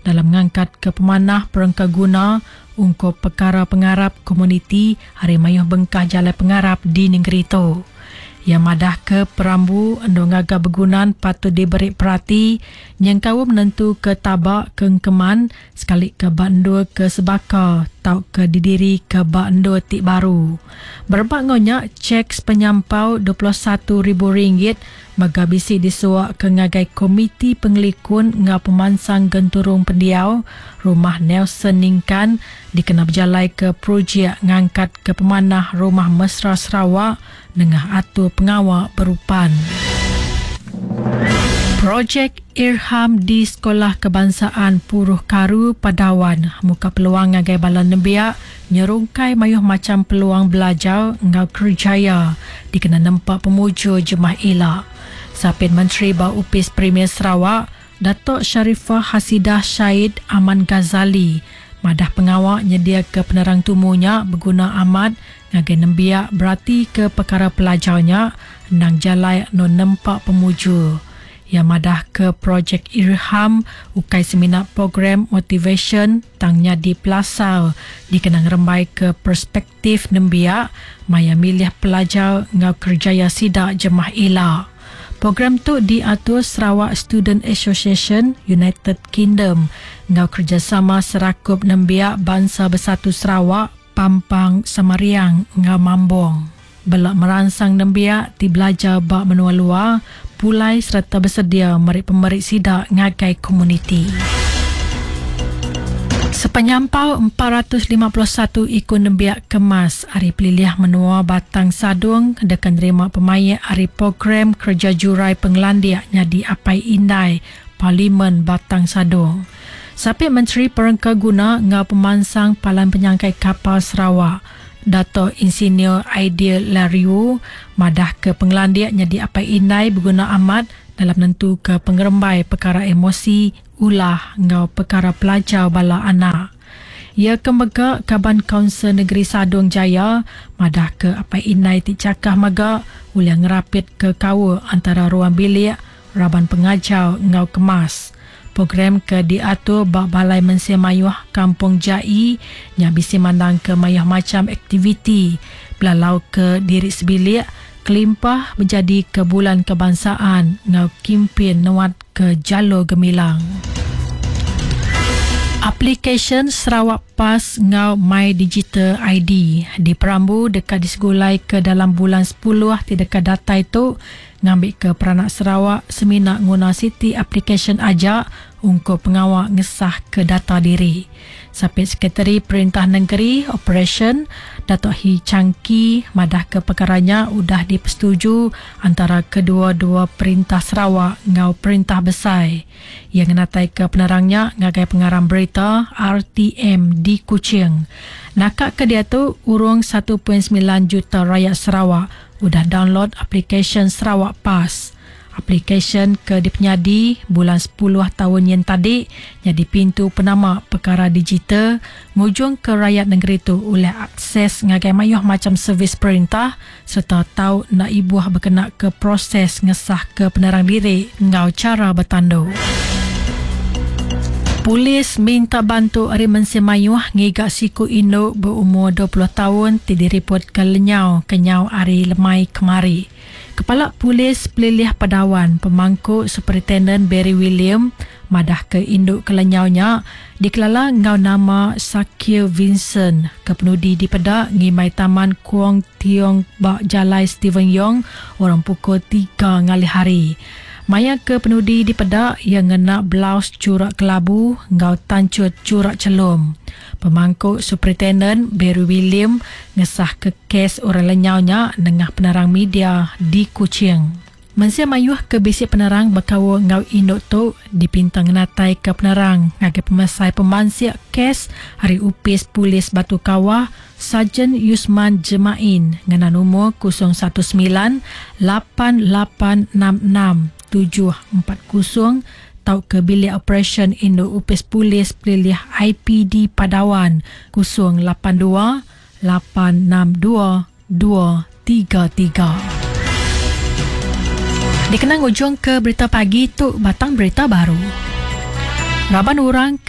dalam ngangkatka pemanah perengka guna ungkup pekara pengarap komuniti ari mayuh bengkah jalai pengarap di nengeri tu. Iya madahka perambu endur ngaga begunan patut diberi perati nyengkaum nentuka taba ke engkeman sekalika ba endur ke sebaka tauka didirika ba endur ti baru. Berebak enggau nya, chek sepenyampau 21 ribu ringgit mega bisi disuaka ngagai Komiti Pengelikun enggau Pemansang Genturung Pendiau Rumah Nelson Ningkan dikena bejalaika projek ngangkatka pemanah Rumah Mesra Sarawak nengah atur pengawa berupan. Projek Irham di Sekolah Kebangsaan Puruh Karu Padawan muka peluang ngagai bala nembiak nyerungkai mayuh macham peluang belajar enggau kerejaya dikena nempa pemujur jemah ila. Sapit Menteri ba Opis Premier Sarawak, Datuk Sharifah Hasidah Sayeed Aman Ghazali madah pengawa nyediaka penerang tumu nya beguna amat ngagai nembiak beratika pekara pelajar nya endang jalai enu nempa pemujur. Iya madahka Projek Irham ukai semina program motivasyen tang nyadi pelasar dikena ngerembaika perspektif nembiak maya milih pelajar enggau kerejaya sida jemah ila. Program tu diatur Sarawak Student Association United Kingdom enggau kerejasama Serakup Nembiak Bansa Bersatu Sarawak Pampang Samariang enggau Mambong. Bela meransang nembiak ti belajar ba menua luar pulai sereta besedia meri pemeri sida ngagai komuniti. Sepenyampau 451 iku nembiak kemas ari pelilih menua Batang Sadong deka nerima pemaik ari program kereja jurai pengelandik nyadi apai indai Parlimen Batang Sadong. Sapit Menteri Perengka Guna enggau Pemansang Palan Penyangkai Kapal Sarawak, Dato Insinyur Aidil Lariwoo madahka pengelandik nyadi apai indai beguna amat dalam nentuka pengerembai pekara emosi, ulah enggau pekara pelajar bala anak. Iya ke mega Kaban Kaunsil Negeri Sadong Jaya madahka apai indai ti chakah mega ulih ngerapitka kaul antara ruang bilik, raban pengajar enggau kemas. Program ke diatur ba Balai Mensia Mayuh Kampung Jai nya bisi mandangka mayuh macham aktiviti belalauka diri sebilik kelimpah bejadika Bulan Kebangsaan enggau Kimpin Nuatka Jalur Gemilang. Aplikasyen Sarawak Pass enggau My Digital ID diperambu deka disegulaika dalam bulan sepuluh ti deka datai tu ngambika peranak Sarawak semina nguna siti aplikasyen aja ungkup pengawa ngesahka data diri. Sapit Sekretari Perintah Nengeri, Operasyen, Datuk Hii Chang Kee madahka pekara nya udah dipesetuju antara kedua-dua Perintah Sarawak enggau Perintah Besai. Iya ngenataika penerang nya ngagai pengarang berita RTM di Kuching. Naka ke diatu, urung 1.9 juta rayat Sarawak udah download aplikasyen Sarawak Pass. Aplikasyen ke dipenyadi bulan sepuluh taun nyin tadi nyadi pintu penama pekara digital ngujungka rayat nengeri tu ulih akses ngagai mayuh macham servis perintah sereta tau enda ibuh bekenaka proses ngesahka penerang diri enggau chara betandu. Polis minta bantu ari mensia mayuh ngiga siku indu beumur 20 taun ti diripotka lenyau kenyau ari lemai kemari. Kepala Polis Pelilih Padawan Pemangku Superintenden Barry William madahka indu ke lenyau nya dikelala enggau nama Shakil Vincent ke penudi dipeda ngimbai Taman Kwong Tiong ba Jalai Stephen Yong urung pukul tiga ngalih hari. Maya ke penudi dipeda iya ngena blouse churak kelabu enggau tanchut churak chelum. Pemangku Superintenden Barry William ngesahka kes orang lenyau nya nengah penerang media di Kuching. Mensia mayuh ke bisi penerang bekaul enggau indu tu dipinta ngenataika penerang ngagai pemesai pemansik kes ari Opis Polis Batu Kawah Sarjan Yusman Jemain ngena numur 019 8866 740 tauka Bilik Operasyen Indu Opis Polis Pelilih IPD Padawan 082 862 233. Dikena ngujungka berita pagi tu batang berita baru. Raban orang.